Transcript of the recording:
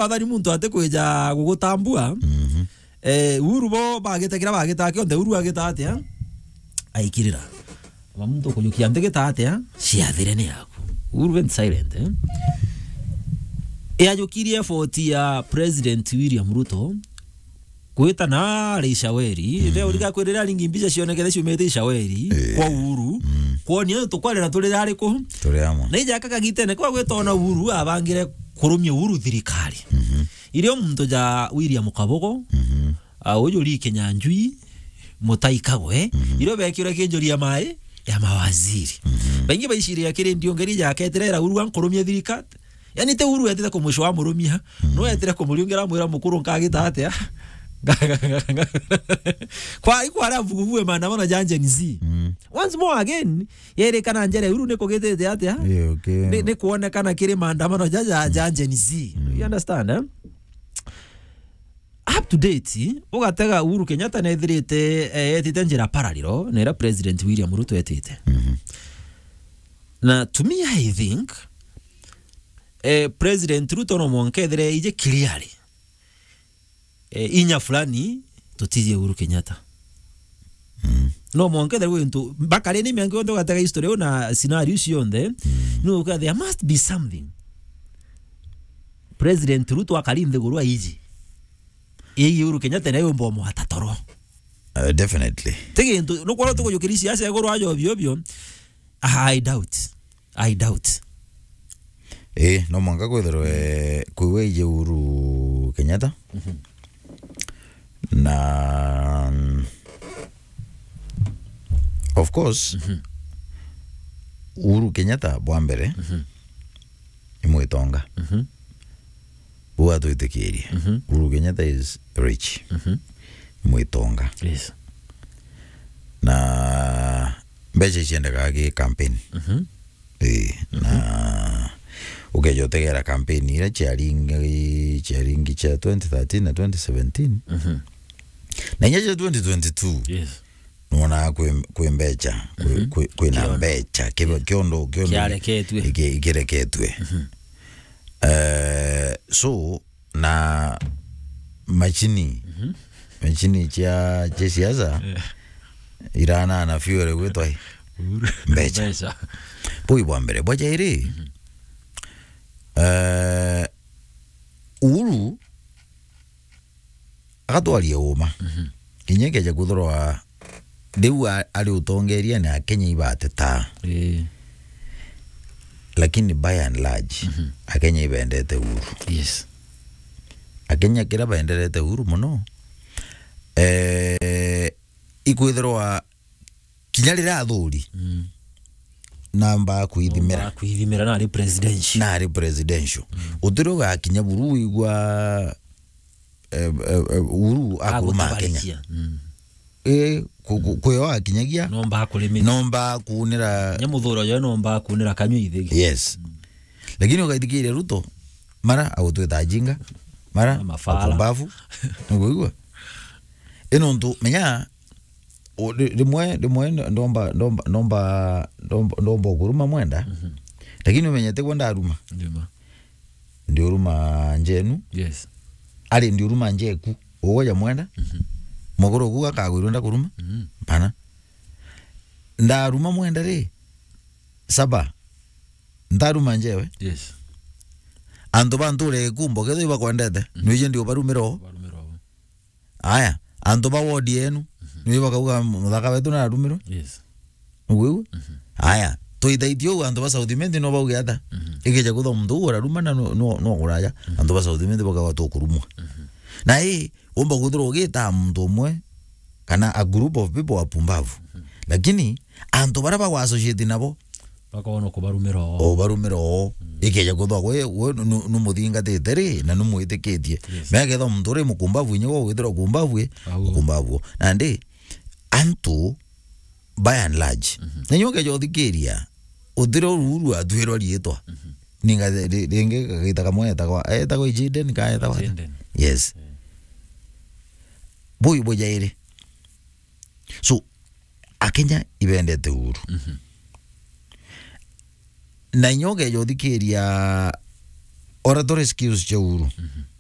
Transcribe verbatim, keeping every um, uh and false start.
Wathani muntu atikwija gugutambua. Mhm. Eh, Uhuru bo bagite kiria bagita kionthe, Uhuru agita atia? Aikirira. Ba muntu kujukia nthi gita atia? Ciathire ni yaku. Uhuru went silent, eh? Yajukirie effort ya President William Ruto gwita na ari Ishaweri. Mm. Ite urika kwirira ringi mbica cionekete ciumite Ishaweri. Eh. Kwa Uhuru. Mm. Kwonia tukwarira turira ari ku? Turi amwe. Na ija aka kagitene kwa gwita ona Uhuru abangire kurumia Uhuru thirikari. Mhm. Irio muntu ja William Kabogo, mhm, a, uju Lee Kinyanjui, Mutai Kagwe, mhm, irio bekirwe kinjuri ya mai ya mawaziri. Mhm. Baingi baicirira kiri ndiungeri jaketire era Uhuru ankurumia thirikari. Yani, ti Uhuru etire kumwisho wa murumia, mm, no etire kumuriungira mwira mukuru nkagita atia? Kwa, ikwa ara vuguvugu maandamano ja Gen Z. Mm. Once more again, yerikana njere Uhuru ni kugitite atia? Yeah, okay. Ni, ni kuonekana kiri maandamano ja, ja, ja Gen Z. Mm. You understand, eh? Up to date, ugatega Uhuru Kenyatta nethirite, eh, etite njira parallel na ira President William Ruto etite. Mhm. Na to me, I think, eh, President Ruto no mwanka ethire ije clearly, eh, inya fulani tutijie Uhuru Kenyatta. Mm. No mwanka ethire gwintu, bakari ni miango yonthe ugatega history yo na scenario cionthe, mm, no uka, there must be something. President Ruto akari nthiguru aiji. Ii Uhuru Kenyatta nayo mbomo atatoro. Uh, definitely. Ti gintu, nukwona tukujukiria siasa iguru ajo obio obio. I doubt. I doubt. Eh, no mwanka kwithirwe kwiwe ije Uhuru Kenyatta. Mhm. Na, mm, of course, mhm, Uhuru Kenyatta bwa mbere, mhm, ni mwitonga. Mhm. Buu atwitikirie. Mhm. Uhuru Kenyatta is rich. Mhm. Mwitonga. Yes. Na mbeca iciendaga gi campaign. Mhm. Ii, mhm, na ukeja utegera campaign iria ciaringi, ciaringi cia twenty thirteen na twenty seventeen. Mhm. Na inya cia twenty twenty-two. Yes. Nwonaga kwi, kwi mbeca, kwi, mhm, kwi, kwina kiondo, mbeca, ki-, yeah, kiondo, kiondo kiareketue. Iki-, ikireketue. Mhm. Eh, so, na machini, mhm, machini cia, cia siasa, yeah, iranana fuel gwitwa i? Uhuru. Mbeca. Mbeca. Bui bwa mbere. Bwa jairi, mhm, eh, Uhuru agatwaria uma. Mhm. Kinya ikeja kwithirwa riu a-, ari utongeria ni Akenya ibatetaa. Ii. Lakini by and large, mhm, Akenya ibendete Uhuru. Yes. Akenya kira benderete Uhuru muno, eh, ikwithirwa kinya riria athuri, mm, namba kwithimira. Namba kwithimira na ari presidential. Na ari presidential. Mm. Utiri ugakinya buru wigua, eh, eh, eh, Uhuru akuruma Akenya. Agutubarikia. Mm. Eh, ku-, ku-, mm, kwio akinyagia. Nomba kurimira. Nomba kunira. Nya muthuro jo nomba kunira kanyua ithigi. Yes. Mm. Lakini ugaithikiria Ruto, mara agutwita ajinga, mara mafala. Apumbavu. Niguigua? Ino ntu, menya, O, ri-, rimwe, rimwe ndomba, ndomba, ndomba, ndomba, ndomba ukuruma mwenda. Mhm. Lakini umenyete gwe ndaruma. Ndima. Ndiuruma njenu. Yes. Ari ndiuruma njeku. Ugoja mwenda. Mhm. Muguru ugu akagwirwa ndakuruma. Mhm. Pana. Ndaruma mwenda ri. Saba. Ndaruma njewe. Yes. Antu ba nture ikumbo ketho ibakwendete. Mhm. Nwije ndi ubarumira o. Ubarumira o. Aya, antu ba ward yenu, mhm, ni bakauga muthaka wetu nararumirwe? Yes. Nugwigua? Mhm. Aya, tuithaitie uu antu ba South Imenti no bauge ata? Mhm. Ikeja kwithwa muntu uu uraruma na no, no, no kuraja, mhm, antu ba South Imenti bakauga tukurumwa. Mhm. Na ii, umba kwithirwa ugitaa muntu umwe, kana a group of people wapumbavu. Mhm. Lakini, antu baria bagwa associate nabo, bakona kubarumira oo. Ubarumira oo. Mm. Ikeja kwithwa gwe, gwe nu-, nu-, numuthingatite ri, na numwitikitie. Yes. Mea kethwa muntu uri mukumbavu, inya gwe ugwithirwa kumbavu, au, mukumbavu. Nandi, antu, by and large, mhm, na inya ukeja uthikiria, utire Uhuru atwirwa riitwa. Mhm. Ninga ri-, ringi kagita kamwe etagwa, etagwa Jaden, ka etagwa ata? Jaden. Yes. Mm. Bui bujairi. So, Akenya ibendete Uhuru. Mhm. Na inya ukeja uthikiria Oratory skills cia Uhuru. Mhm.